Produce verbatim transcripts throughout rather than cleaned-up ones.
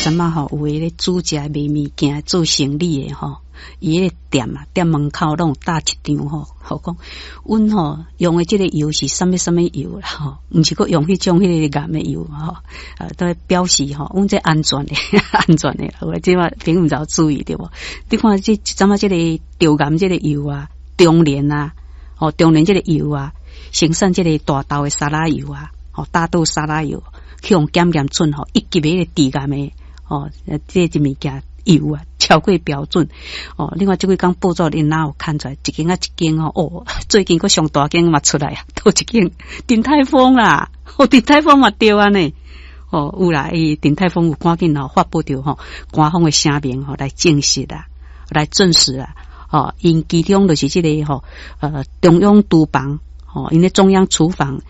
陣仔吼，有的咧煮食賣物件做生理的吼，伊彼个店啊，店門口攏有貼一張吼，吼講，阮吼用的這个油是啥物啥物油啦吼，毋是閣用彼種彼个鹹的油吼，啊，都表示吼，阮這安全的，安全的。我這擺朋友毋知有注意著無？你看這陣仔這个中鹽這个油啊，中蓮啊，吼中蓮這个油啊，生產這个大豆的沙拉油啊，吼大豆沙拉油，去予檢驗出吼一級的彼個致癌的吼，這個物件油啊，超過標準哦。另外這幾工報紙𪜶哪有刊出來，一間啊一間吼哦，最近閣上大間嘛出來啊，佗一間鼎泰豐啦，哦鼎泰豐嘛著按呢，哦有啦，伊鼎泰豐有趕緊吼發布著吼官方的聲明吼來證實啦，來證實啦，哦，𪜶其中就是這个吼呃中央廚房吼，𪜶的中央廚房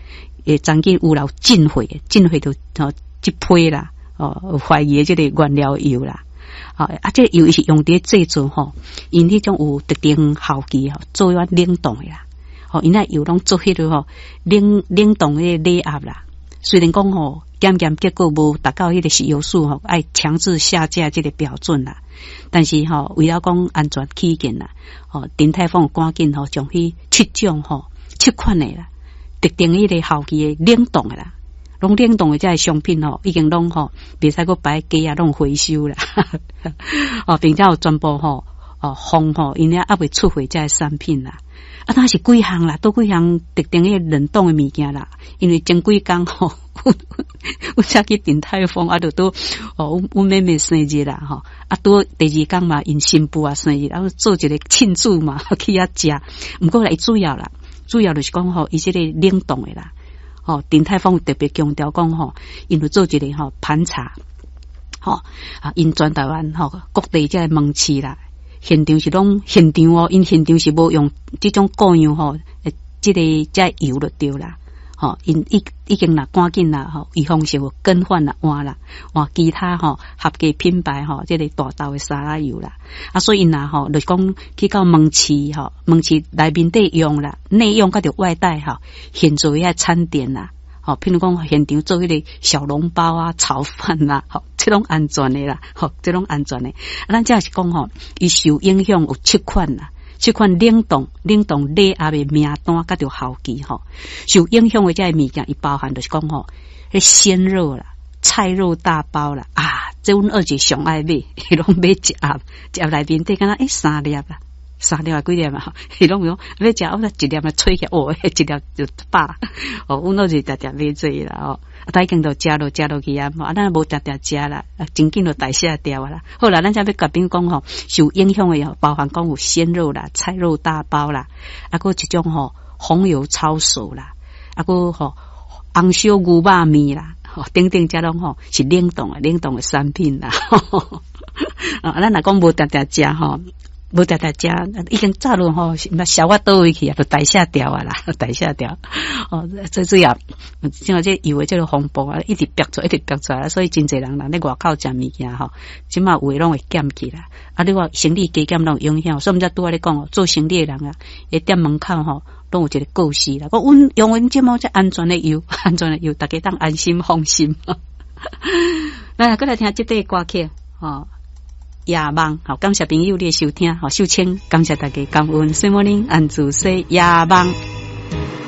會曾經有留進貨，進貨就吼這批啦，哦懷疑的這个原料油啦。啊，啊，這个油是用佇製作吼，𪜶彼種有特定效期吼，做彼款冷凍的啦。吼，𪜶那油攏做彼个吼冷冷凍的冷壓啦。雖然講吼檢驗結果無達到彼個食藥署吼愛強制下架這个標準啦，但是吼為了講安全起見啦，吼鼎泰豐趕緊吼將彼七種吼七款的啦，特定彼個效期的冷凍的啦。攏冷凍的這个商品吼，已經攏吼袂使閣擺架啊，攏回收啦。哦，並且有全部吼哦封吼，𪜶猶未出貨這个產品啦。啊，那是幾項啦，佗幾項特定的冷凍的物件啦。因為前幾工吼，阮才去鼎泰豐啊，就拄哦，阮阮妹妹生日啦吼，啊，拄第二工嘛，𪜶新婦也生日，啊，做一个慶祝嘛，去遐食。毋過來主要啦，主要就是講吼，伊這个冷凍的啦。吼，鼎泰豐特別強調講吼，𪜶有做一个吼盤查，吼啊，𪜶全台灣吼各地這个門市啦，現場是攏現場哦，𪜶現場是無用這種固樣吼，這个這个油就對啦，吼，𪜶已已經啦趕緊啦吼，預防性有更換啦換啦換其他吼合格品牌吼，這个大豆的沙拉油啦，啊，所以𪜶若吼，就是講去到門市吼，門市內面底用啦，內用佮著外帶吼，現做遐餐點啦，吼，譬如講現場做彼个小籠包啊、炒飯啦，吼，這攏安全的啦，吼，這攏安全的。啊，咱這是講吼，伊受影響有七款啦。這款冷凍、冷凍冷壓的名單，佮著效期吼，受影響的這个物件，伊包含就是講吼，彼鮮肉啦、菜肉大包啦，啊，這阮二姐上愛買，伊攏買一盒，一盒內面底敢若欸三粒啦，三粒抑幾粒嘛，伊攏講欲食，我一粒來吹起來，哦，一粒就飽。哦，阮二姐定定買這个啦，哦，啊，已經都食落食落去啊，啊，咱無定定食啦，啊，真緊就代謝掉啊啦。好啦，咱才欲共朋友講吼，受影響的包含講有鮮肉啦、菜肉大包啦，啊，閣一種吼紅油抄手啦，啊，閣吼紅燒牛肉麵啦，吼等等，這攏吼是冷凍的冷凍的產品啦。啊，咱若講無定定食吼，無定定食，已經早就吼，消化佗位去啊，就代謝掉啊啦，代謝掉。哦，最主要，像這油的這个風暴啊，一直爆出，一直爆出來，所以真濟人人咧外口食物件吼，這馬有的攏會檢去啦。啊，你話生理加減攏有影響，所以阮才拄仔咧講哦，做生理的人啊，佇店門口吼，攏有一个告示啦。講阮用阮這麼這安全的油，安全的油，大家當安心放心。來，閣來聽這塊歌曲，吼。夜夢，好，感謝朋友你的收聽，好，秀清，感謝大家感恩，小莫林安祖說夜夢。